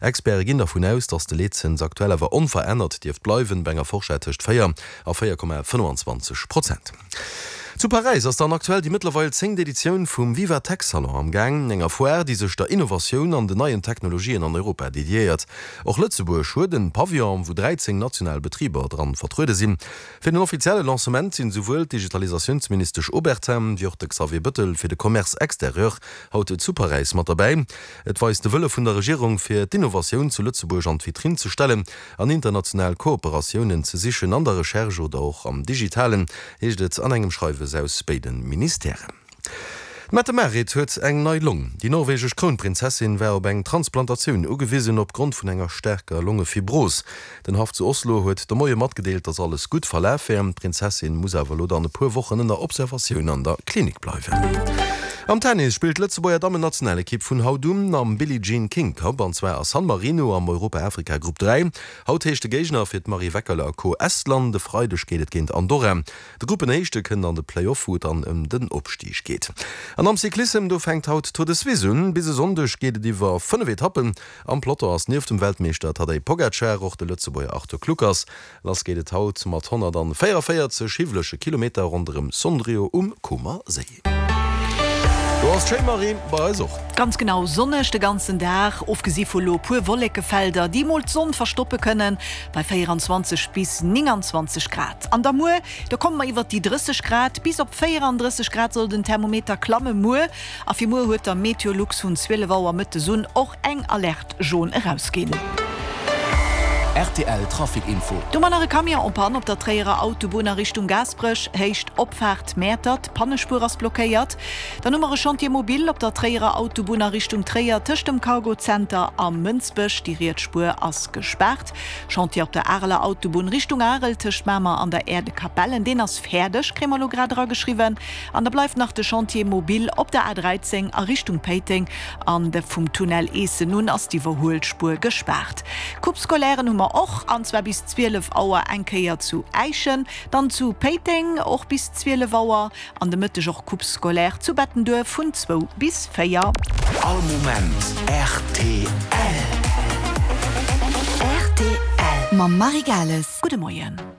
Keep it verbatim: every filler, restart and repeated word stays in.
Experte ginn dervun aus, datt de Leetzëns aktuell awer onverännert dierft bleiwen, bei enger Forschett tëscht véier a véier Komma fënnwanzwanzeg Prozent. Zu Paräis ass dann aktuell déi mëttlerweil zéngt Editioun vum Viva Tech Salon am Gaang, enger Foire, déi sech der Innovatioun an den neien Technologien an Europa dediéiert. Och Lëtzebuerg huet en Pavillon, wou dräizéng national Betriber dran vertruede sinn. Fir den offizielle Lancement sinn esouwuel d'Digitalisatiounsministesch Obertin wéi och de Xavier Bëttel fir de Commerce extérieur haut zu Paräis mat derbäi. Et weist de Wëlle vun der Regierung, fir d'Innovatioun zu Lëtzebuerg an d'Vitrinn ze stellen an international Kooperatiounen ze sichen an der Recherche oder och am Digitalen, heescht et an engem Schreiwes aus béide Ministèren. D'Mette-Marit huet eng nei Long. Déi norwegesch Krounprinzessin war op eng Transplantatioun ugewisen, opgrond vun enger staarker Longefibros. Den Haff zu Oslo huet de Moie matgedeelt, datt alles gutt verlaf wär. D'Prinzessin muss awer elo dann e puer Wochen ënner Observatioun an der Klinik bleiwen. Am Tennis spillt d'Lëtzebuerger Dammennationalekipp vun haut un am Billie Jean King Cup, an zwar a San Marino am Europa-Afrika Grupp dräi. Haut heescht de Géigner fir d'Marie Weckerle a Co Estland, e Freideg geet et géint Andorra. De Gruppenéischte kënnt an de Play-Off, wou et dann ëm den Opstig geet. An am Cyclissem, do fänkt haut d'Tour de Suisse un. Bis e Sonndeg geet et iwwer fënnef Etappen. Am Peloton ass nieft dem Weltmeeschter Tadej Pogacar och de Lëtzebuerger Arthur Kluckers. Lass geet et haut mat honnertvéieranvéierzeg hiwwelege Kilometer ronderëm Sondrio um Comer Séi. Do ass d'schéin Marie, bei eis och. Ganz genau, sonneg de ganzen Dag, ofgesi vu lo puer Wollekefelder, déi mol d'Sonn verstoppe kënnen, bei véieranzwanzeg bis nénganzwanzeg Grad. An da muer, do komme mer iwwert déi drësseg Grad, bis op véierandrësseg Grad soll den Thermometer klamme muer. A fir muer huet da Meteolux vun zwielef Auer mëttes un och eng Alerte jaune erausginn. Rtl Trafic Info. Do mer nach e Camion en panne op der Tréierer Autobunn a Richtung Gaasperech, Héicht Opfaart Mäertert, d'Pannespuer ass blockéiert. Dann hu mer e Chantier mobile op der Tréierer Autobunn a Richtung Tréier tëscht dem Cargo Center a Mënsbech, déi riets Spuer ass gespaart. Chantier op der Areler Autobunn Richtung Arel tëscht Mamer an der Aire de Capellen, deen ass fäerdeg, kréie mer elo grad erageschriwwen. An da bleift nach de Chantier mobile op der A dräizéng a Richtung Péiteng an de vum Tunnel Eessen un ass d'Iwwerhuelspuer gespaart. Coupe scolairen hu mer och, an zwar bis zwielef Auer eng Kéier zu Äischen, dann zu Péiteng och bis zwielef Auer an de Mëtteg och Coupe scolaire zu Bettenduerf vun zwou bis véier. All Moment rtl. Rtl mam Marie Gales. Gudde Moien.